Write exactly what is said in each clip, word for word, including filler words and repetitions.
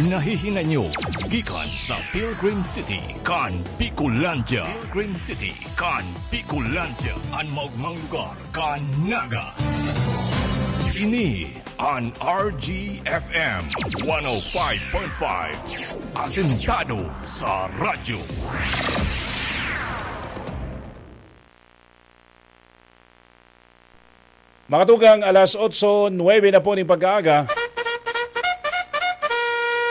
Nahihinay nyo gikan sa Pilgrim City kan Bicolandia. Pilgrim City kan Bicolandia, an maogmang lugar kan Naga. Ini an R G F M one oh five point five, asentado sa radyo. Mga tugang, alas otso nuebe na po ning pagkaaga.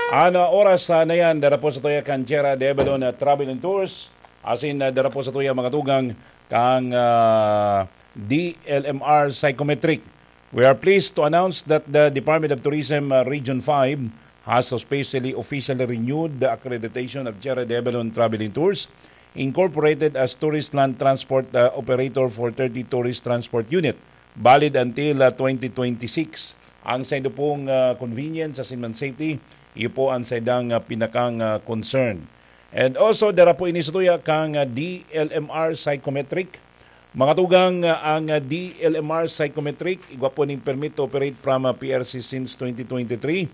An, ah, oras, ah, na yan, dara po sa tuya kan Jera de Avalon, ah, Travel and Tours. Asin, ah, dara po sa tuya, mga tugang, kang, ah, D L M R Psychometric. We are pleased to announce that the Department of Tourism, uh, Region five has officially, officially renewed the accreditation of Jera de Avalon Traveling Tours Incorporated as tourist land transport, uh, operator for thirty tourist transport unit, valid until, uh, twenty twenty-six. Ang saindo pong, uh, convenience asin man safety, iyo po ang saindang, uh, pinakang, uh, concern. And also, dara po ini sa tuya kang, uh, D L M R Psychometric. Mga tugang, uh, ang, uh, D L M R Psychometric, igwa po ning permit to operate from, uh, P R C since twenty twenty-three.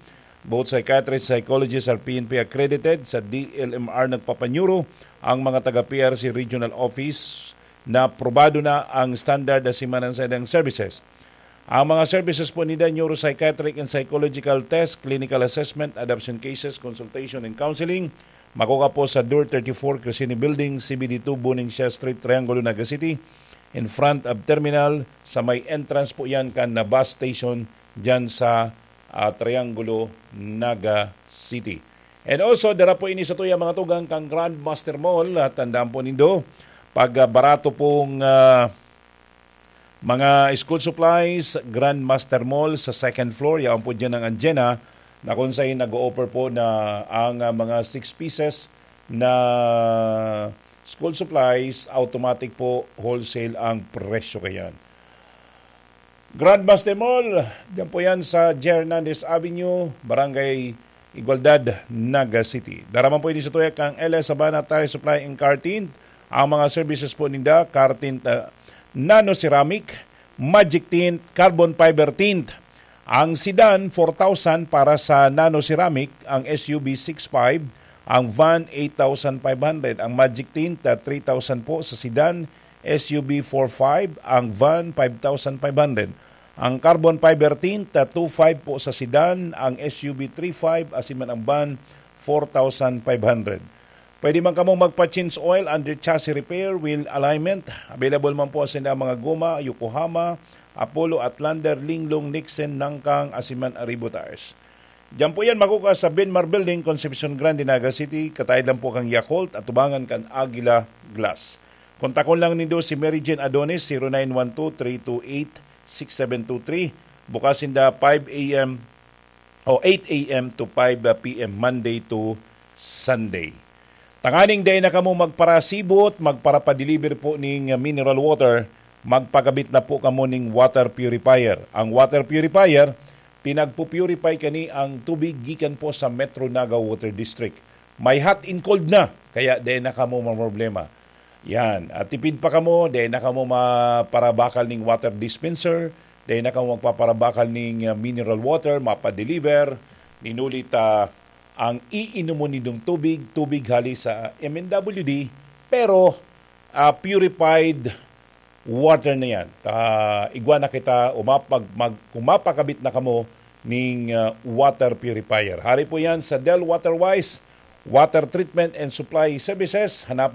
Both psychiatrist, psychologist are P N P accredited. Sa D L M R nagpapanyuro ang mga taga P R C Regional Office na probado na ang standard na simanan sa ilang services. Ang mga services po ninda, neuropsychiatric and psychological test, clinical assessment, adoption cases, consultation and counseling, makukuha po sa Door thirty-four, Crescini Building, C B D two, Buning Siya Street, Triangulo, Naga City, in front of terminal, sa may entrance po yan kan na bus station dyan sa, ah, Triangulo, Naga City. And also, dara po ini sa tuya, mga tugang, kang Grandmaster Mall. At tandaan po nindo, pag, ah, barato pong, ah, mga school supplies, Grandmaster Mall sa second floor, yaon po dyan ang Anjena, na kung saan nag-o-offer po na ang, ah, mga six pieces na school supplies, automatic po, wholesale ang presyo kayan. Grandmaster Mall, dyan po yan sa Jernandez Avenue, Barangay Igualdad, Naga City. Dara man po ini sa tuya kang L S Sabana Tire Supply and Car Tint, ang mga services po ninda, car tint, ah, nano ceramic, magic tint, carbon fiber tint. Ang sedan, four thousand para sa nano ceramic, ang S U V, six five, ang van, eight thousand five hundred, ang magic tint, ah, three thousand po sa sedan, S U V, four five, ang van, five thousand five hundred. Ang carbon fiber tint, ah, two five po sa sedan, ang S U V, three five, asin man ang van, four thousand five hundred. Pwede man kamo magpa-change oil, under chassis repair, wheel alignment. Available man po sa mga goma, Yokohama, Apollo, Outlander, Linglong, Nixon, Nangkang, asin man Arribo Tires. Diyan po yan makukuha sa Benmar Building, Concepcion Grande, Naga City. Kataid lang po kang Yakult, atubangan kan Agila Glass. Kontakon lang nindo si Mary Jane Adonis, zero nine one two, three two eight, six seven two three. Bukas sinda five a m o eight a m to five p m, Monday to Sunday. Tanganing dai na kamo magparasibot, magparapadeliver po ning mineral water, magpakabit na po kamo ning water purifier. Ang water purifier, pinagpu-purify kani ang tubig gikan po sa Metro Naga Water District. May hot and cold na, kaya dai na kamo mamroblema. Yan. At tipid pa kamo, dai na kamo maparabakal ning water dispenser, dai na kamo magpaparabakal ning, uh, mineral water, mapadeliver, ninuli ta ang iinomon nindong tubig, tubig hali sa M N W D, pero, ah, purified water na yan. Ta, igwa na kita, umapag-, mag-, kumapakabit na kamo ning, ah, water purifier. Hari po yan sa Del Waterwise Water Treatment and Supply Services. Hanap